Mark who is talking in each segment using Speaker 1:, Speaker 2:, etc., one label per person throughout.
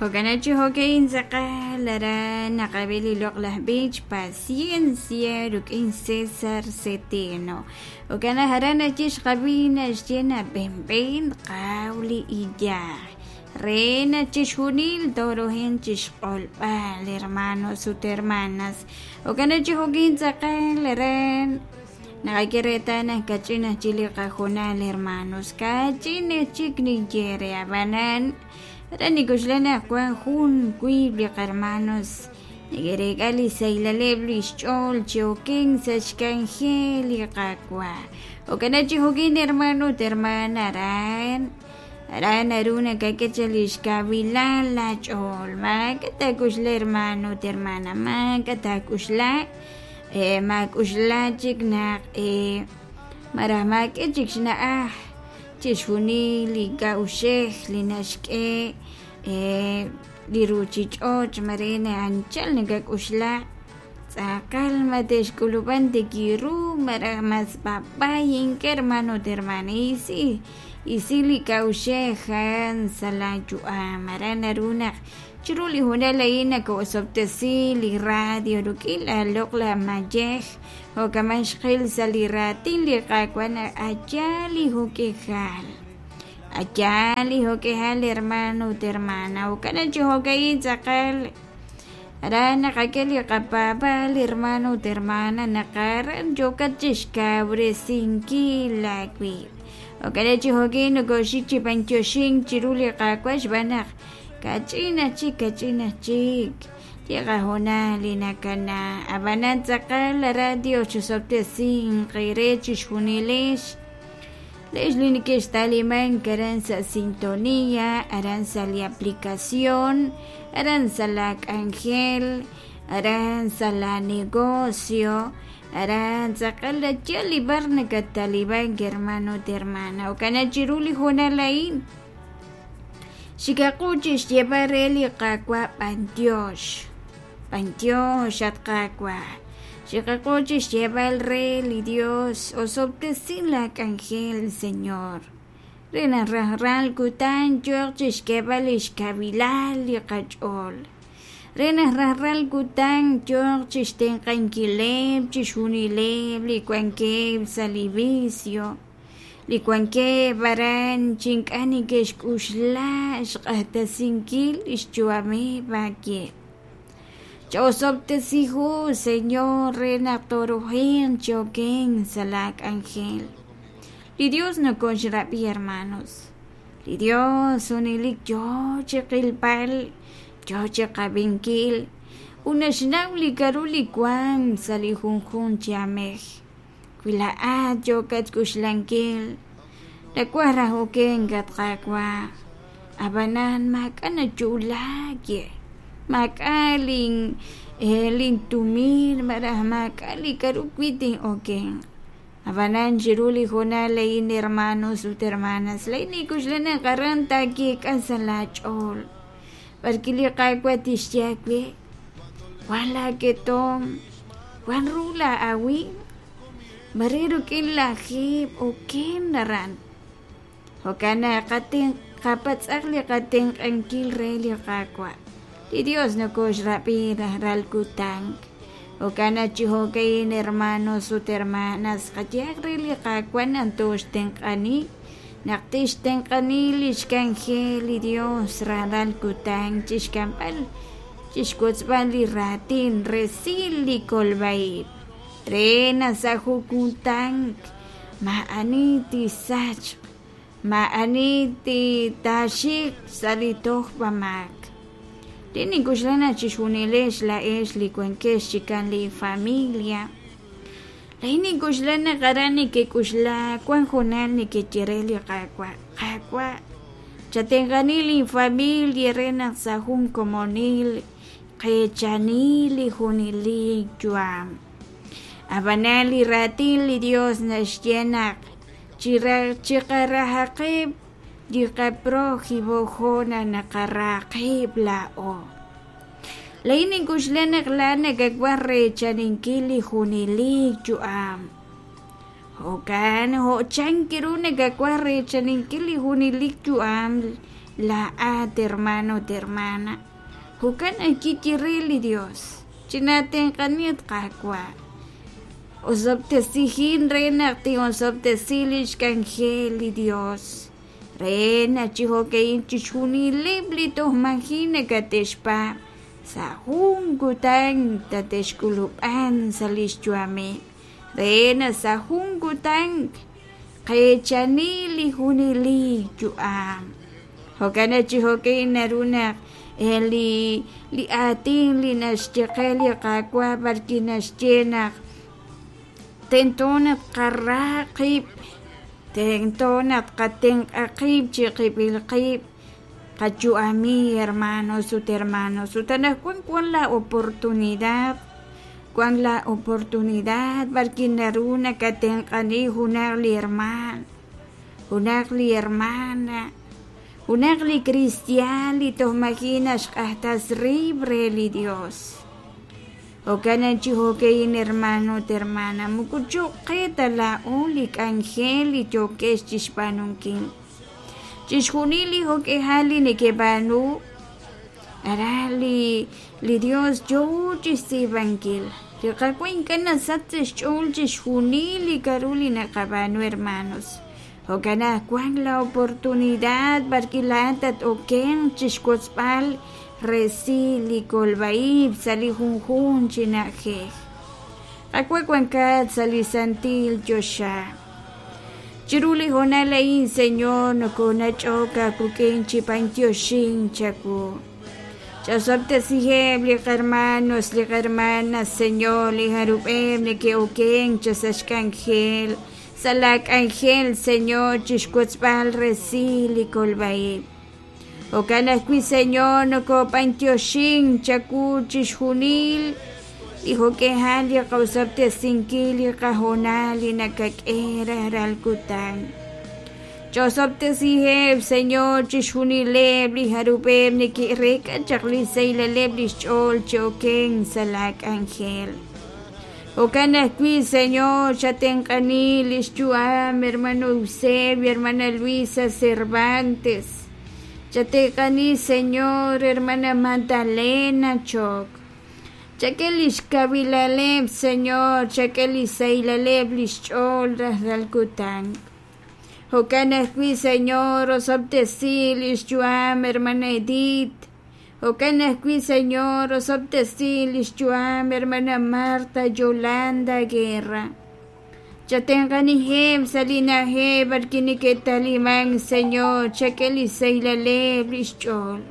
Speaker 1: Jo'kan chi jo'ka'in tz'aqal aran naqab'i li loq'laj b'ich Paciencia rik'in César Cetino. Jo'kan naq aran naxye xqab'i naxye nab'enb'en qaw li iyaj re naq chixjunil torojen chixq'olb'al hermanos ut hermanas. Jo'kan chi jo'kin tz'aqal aran naqak'e reetal naq kach'in aj chik li qajonal hermanos kach'in aj chik ninye re ab'anan aran nik'oxla naq wan jun wiib' li qahermanos neke'reek'a li saylaleb' li xch'ool chi oken sa' xk'anjel li Qaawa'. Jo'kan chi jo'kin hermano ut hermana aran aran naru nakak'e chaq li xkawilal laach'ool maak'a' taak'uxla hermano ut hermana maak'a' taak'uxla maak'uxla chik naq malaj maak'e chik xna'aj chixjunil li k'a'uxej li naxk'e li ruuchich'och' mare anchal nakak'uxla tz'aqal ma te'xk'ulub'an tikiru malaj mas b'ab'ay ink'a' hermano ut hermana isi isi li k'a'uxej a'an sa' laayu'am aran naru naq chiru li hoonal a'in nako'osob'tesi li radio rik'in la loq'laj mayej jo'kaman xqil sa' li raatin li Qaawa' naq aya li jo'k'ejal aya li jo'k'ejal hermano ut hermana jo'kan chi jo'ka'in tz'aqal aran naqak'e li qapaab'aal hermano ut hermana naq aran yookat chixkawresinkil aawib' jo'kan chi jo'kin nokoxik chi b'antioxink chiru li Qaawa' xb'aan naq kach'in aj chik kach'in aj chik li qahoonal li nakana ab'anan tz'aqal aran Dios chisob'tesinq eere chixjunilex lex li neke'xtalimank aran sa' sintonía aran sa' li aplicación aran sa' la k'anjel aran sa' la negocio aran tz'aqal yal li b'ar nakattalibank hermano ut hermana jo'kan chiru li hoonal a'in xikaqu chi xyeeb'al re li Qaawa' b'antiox b'antiox at Qaawa' xiqaqu chi xyeeb'al re li Dios osob'tesin la k'anjel Señor re naq rajlal kutan yooq chi xk'eeb'al li xkawilal li qach'ool re naq rajlal kutan yooq chi xtenq'ankileb' chixjunileb' li wankeb' sa' li vicio li wankeb' aran chi ink'a' neke'xk'uxla xq'axtesinkil li xyu'ameb' aakeb'. Ch'osob'tesihu, Señor, re naq torujenq chi okenk sa' laak'anjel. Li Dios nokoxrab'i, hermanos. Li Dios junelik yoo chi qilb'al, yoo chi qab'inkil, ut naxnaw li k'aru li wank sa' li junjunq chi aamej. Wi laa'at yookat xk'uxlankil, nawaj raj okenk at Qaawa', ab'anan maak'a' nayo'laak ye, maak'a' lin lintumin malaj maak'a' li k'aru wi' tin'okenq. Ab'anan chiru li hoonal a'in hermanos ut hermanas, laa'in nink'oxla naq aran taayeek'a sa' laach'ool b'arwi' li Qaawa' tixye aawe wan laaketomq, wan ru laa'awimq, mare rik'in lajeeb' oken aran. Jo'kan naq qapatz'aq li qatenq'ankil re li Qaawa'. Li Dios nokoxrab'i rajlal kutan. Jo'kan naq chi jo'ka'in hermanos ut hermanas qayehaq re li Qaawa' naq tooxtenq'ani naq tixtenq'ani li xk'anjel li Dios rajlal kutan chixk'amb'al chixwotzb'al li raatin resil li kolb'a-ib' re naq sa' jun kutan maa'ani tisachq maa'ani taaxik sa' li tojb'amaak. Li nink'oxla naq chixjunilex laa'ex li wankex chikan li familia laa'in nink'oxla naq aran nekek'oxla wan hoonal nekeye re li Qaawa' Qaawa' chatenq'ani linfamilia re naq sa' jun komonil qeechani li junelik yu'am. Ab'anan li raatin li Dios naxye naq chiqarahaqeb' li qaprojimo jo' naq naqara qib' laa'o. Laa'in nink'oxla naq laa'at nakawaj reechaninkil li junelik yu'am. Jo'kan jo' chan ru nakawaj reechaninkil li junelik yu'am Laa'at hermano ut hermana, jo'kan ajwi' ye re li Dios, Chinaatenq'ani at Qaawa', osob'tesijin re naq tin'osob'tesi lix k'anjel li Dios, re naq chi jo'ka'in chixjunileb' li toj maji' nakate'xpaab' sa' jun kutan tate'xk'ulub'an sa' lix yu'ameb', re naq sa' jun kutan qeechani li junelik yu'am. Jo'kan naq chi jo'ka'in naru naq li li aatin li naxye qe li Qaawa' b'arwi' naxye naq tento naq tqara qib', tento naq tqatenq'a qib' chiqib'il qib', qayu'ami hermanos ut hermanos. Ut anaqwan wan la oportunidad, wan la oportunidad b'arwi' naru nakatenq'ani junaq li hermaan, junaq li hermana, junaq li kristiaan li toj maji' naxq'axtas rib' re li Dios. Jo'kan naq chi jo'ka'in hermano ut hermana, moko cho'q qe ta laa'o li k'anjel li yookex chixb'aanunkil. Chixjunil li jo'k'ihal li nekeb'aanu, aran li li Dios yoo chixtz'iib'ankil. Li Qaawa' ink'a' nasach sa' xch'ool chixjunil li k'a'ru li naqab'aanu hermanos. Jo'kan naq wank la oportunidad b'arwi' laa'at tat-okenq chixwotzb'al resil li kolb'a-ib' sa' li junjunq chi na'ajej. Qaawa' wankat sa' li santil choxa. Chiru li hoonal a'in, Señor, nokonach'ok aawik'in chi b'antioxink chawu. Ch'osob'tesiheb' li qhermanos, li qhermanas, Señor, li jarub'eb' neke'okenk cha sa' xk'anjel, sa' laa k'anjel, Señor, chixwotzb'al resil li kolb'a-ib'. Jo'kan ajwi', Señor, nokob'antioxink chawu chixjunil li jo'k'ihal li qosob'tesinkil li qahoonal li nakak'e rajlal kutan. Ch'osob'tesiheb', Señor, chixjunileb' li jarub'eb' neke'reek'a chaq li sahilal lix ch'ool chi okenk sa' laa k'anjel. Jo'kan ajwi', Señor, chatenq'ani lix yu'am hermano Eusebio, hermana Luisa Cervantes. Chatenq'ani, Señor, hermana Magdalena Choc. Chak'e lix kawilaleb', Señor, chak'e li sahilal lix ch'ool rajlal kutan. Jo'kan ajwi', Señor, osob'tesi lix yu'am hermana Edith. Jo'kan ajwi', Señor, osob'tesi lix yu'am hermana Marta Yolanda Guerra. Chatenq'aniheb' sa' li na'ajej b'arwi' neke'taliman, Señor, chak'e li sahilal lix ch'ool.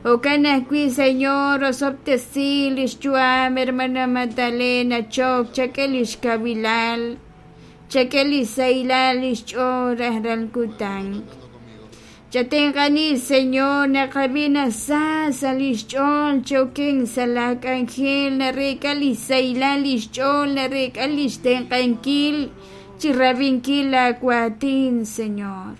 Speaker 1: Jo'kan ajwi', Señor, osob'tesi lix yu'am hermana Magdalena Choc, chak'e lix kawilal, chak'e li sahilal lix ch'ool rajlal kutan. Chatenq'ani, Señor, naqab'i naq sa sa' lix ch'ool chi okenk sa' laa k'anjel, nareek'a li sahilal lix ch'ool, nareek'a lix tenq'ankil chi rab'inkil laa waatin, Señor.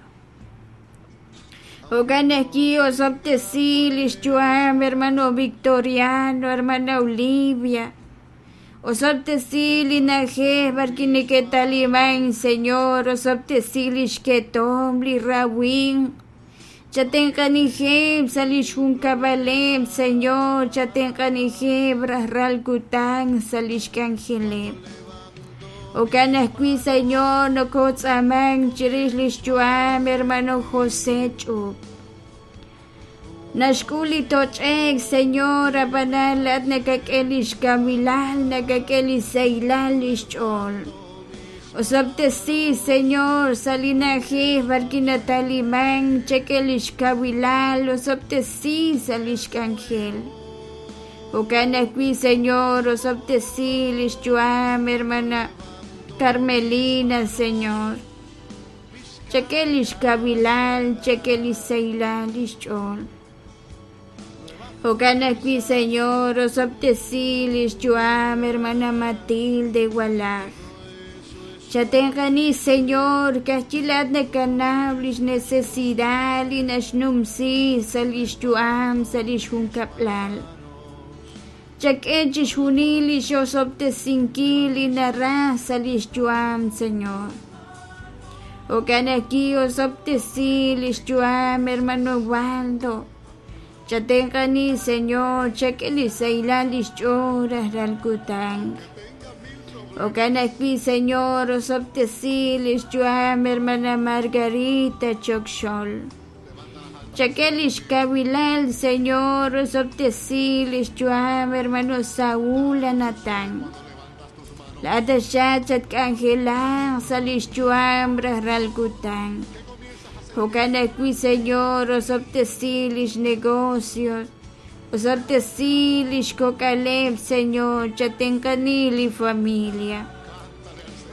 Speaker 1: Jo'kan ajwi' osob'tesi lix yu'am hermano Victoriano, hermana Olivia. Osob'tesi li na'ajej b'arwi' neke'taliman, Señor, osob'tesi lix ketom, li rawimq. Chatenq'aniheb' sa' lix junkab'aleb', Señor, chatenq'aniheb' rajlal kutan sa' lix k'anjeleb'. Jo'kan ajwi', Señor, nokotz'aamank chirix lix yu'am hermano José Ch'up. Naxk'ul li toch'ek, Señor, ab'anan laa'at nakak'e lix kawilal, nakak'e li sahilal lix ch'ool. Osob'tesi, Señor, sa' li na'ajej b'arwi' nataliman, chak'e lix kawilal, osob'tesi sa' lix k'anjel. Jo'kan ajwi', Señor, osob'tesi lix yu'am hermana Carmelina, Señor. Chak'e lix kawilal, chak'e li sahilal lix ch'ool. Jo'kan ajwi', Señor, osob'tesi lix yu'am hermana Matilde Walaj. Chatenq'ani, Señor, ka'ajwi' laa'at nakanaw lix necesidad li naxnumsi sa' lix yu'am, sa' lix junkab'lal. Chak'e chixjunil lix osob'tesinkil li naraj sa' lix yu'am, Señor. Jo'kan ajwi' osob'tesi lix yu'am hermano Waldo. Chatenq'ani Señor, chak'e li sahilal lix ch'ool rajlal kutan. Jo'kan ajwi' Señor, osob'tesi lix yu'am hermana Margarita Chokxol. Chak'e lix kawilal Señor, osob'tesi lix yu'am hermano Saúl Anatán. Laa'at taxaq chatk'anjelaq sa' lix yu'am rajlal kutan. Jo'kan ajwi' Señor, osob'tesi lix negocios, osob'tesi lix kok'aleb' Señor, chatenq'ani li familia.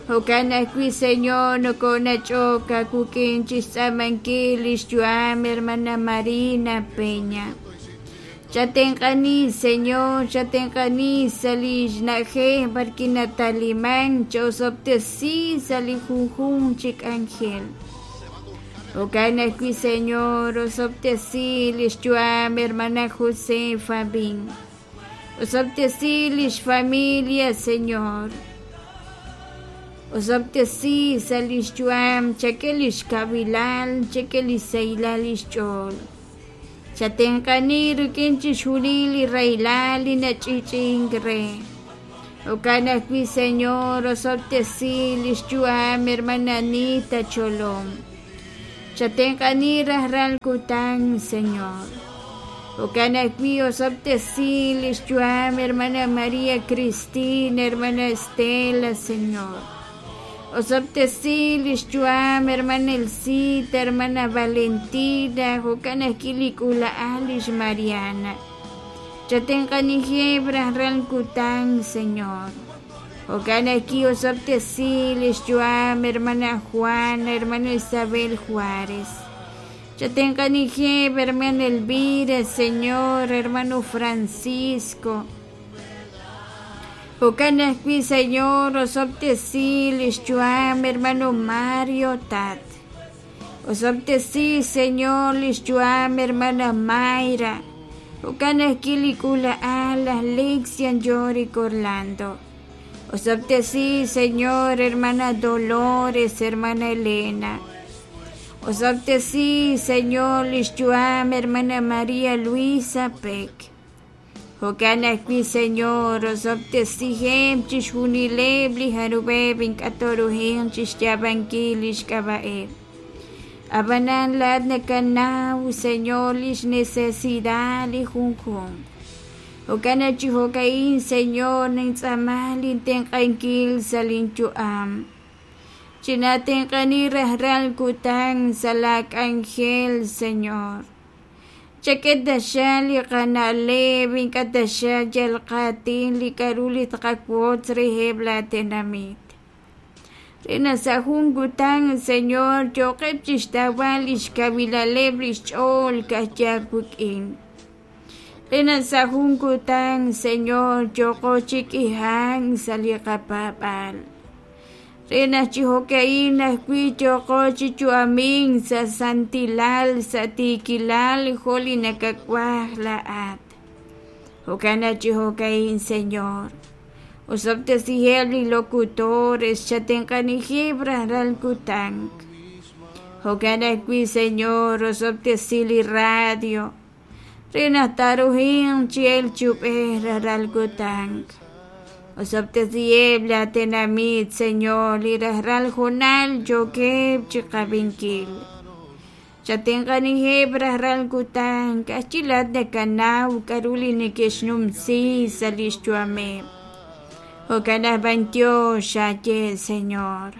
Speaker 1: Jo'kan ajwi' Señor, nokonach'ok aawik'in chixtz'aamankil lix yu'am hermana Marina Peña. Chatenq'ani Señor, chatenq'ani sa' li xna'ajej b'arwi' nataliman, ch'osob'tesi sa' li junjunq chi k'anjel. Jo'kan ajwi' Señor, osob'tesi lix yu'am hermana Josefa Bin. Osob'tesi lix familia Señor. Osob'tesi sa' lix yu'am, chak'e lix kawilal, chak'e lix sahilal lix ch'ool. Chatenq'ani rik'in chixjunil li rahilal li nach'i'ch'i'ink re. Jo'kan ajwi' Señor, osob'tesi lix yu'am hermana Anita Cholom. Chatenq'ani rajlal kutan, Señor. Jo'kan ajwi' osob'tesi lix yu'am hermana María Cristina, hermana Estela, Señor. Osob'tesi lix yu'am hermana Elcita, hermana Valentina, jo'kan ajwi' li k'uula'al lix Mariana. Chatenq'anijeb' rajlal kutan, Señor. Jo'kan ajwi' osob'tesi lix yu'am hermana Juana, hermana Isabel Juárez. Chatenq'anijeb' hermana Elvira, Señor, hermano Francisco. Jo'kan ajwi' Señor, osob'tesi lix yu'am hermano Mario Tat. Osob'tesi Señor lix yu'am hermana Mayra. Jo'kan ajwi' li k'uula'al laj Lexian Yorick Orlando. Osob'tesi Señor, hermana Dolores, hermana Elena. Osob'tesi Señor lix yu'am hermana María Luisa Peck. Jo'kan ajwi' Señor, osob'tesiheb' chixjunileb' li jarub'eb' ink'a' tooruhinq chixyaab'ankil lix k'ab'a'eb'. Ab'anan laa'at nakanaw, Señor, lix necesidad li junjunq. Jo'kan naq chi jo'ka'in, Señor, nintz'aama lintenq'ankil sa' linyu'am. Chinatenq'ani rajlal kutan sa' laak'anjel, Señor. Chak'e taxaq li qana'leb', ink'a' taxaq yal qaatin li k'a'ru li tqawotz reheb' laatenamit. Re naq sa' jun kutan, Señor, yooqeb' chixtawb'al lix kawilaleb' lix ch'ool ka'aj wik'in. Re naq sa' jun kutan, Señor, yooqo chi k'ihank sa' li qapaab'aal. Re naq chi jo'ka'in ajwi' yooqo chi yu'amink sa' santilal, sa' tiikilal jo' li nakawaj laa'at. Jo'kan naq chi jo'ka'in, Señor, osob'tesiheb' li locutores, chatenq'anijeb' rajlal kutan. Jo'kan ajwi', Señor, osob'tesi li radio, re naq taaruhinq chi elk chi ub'ej rajlal kutan. Osob'tesiheb' laatenamit, Señor, li rajlal hoonal yookeb' chiqab'inkil. Chatenq'anijeb' rajlal kutan, ka'ajwi' laa'at nakanaw k'a'ru li neke'xnumsi sa' lix yu'ameb'. Jo'kan naq b'antiox xaye, Señor.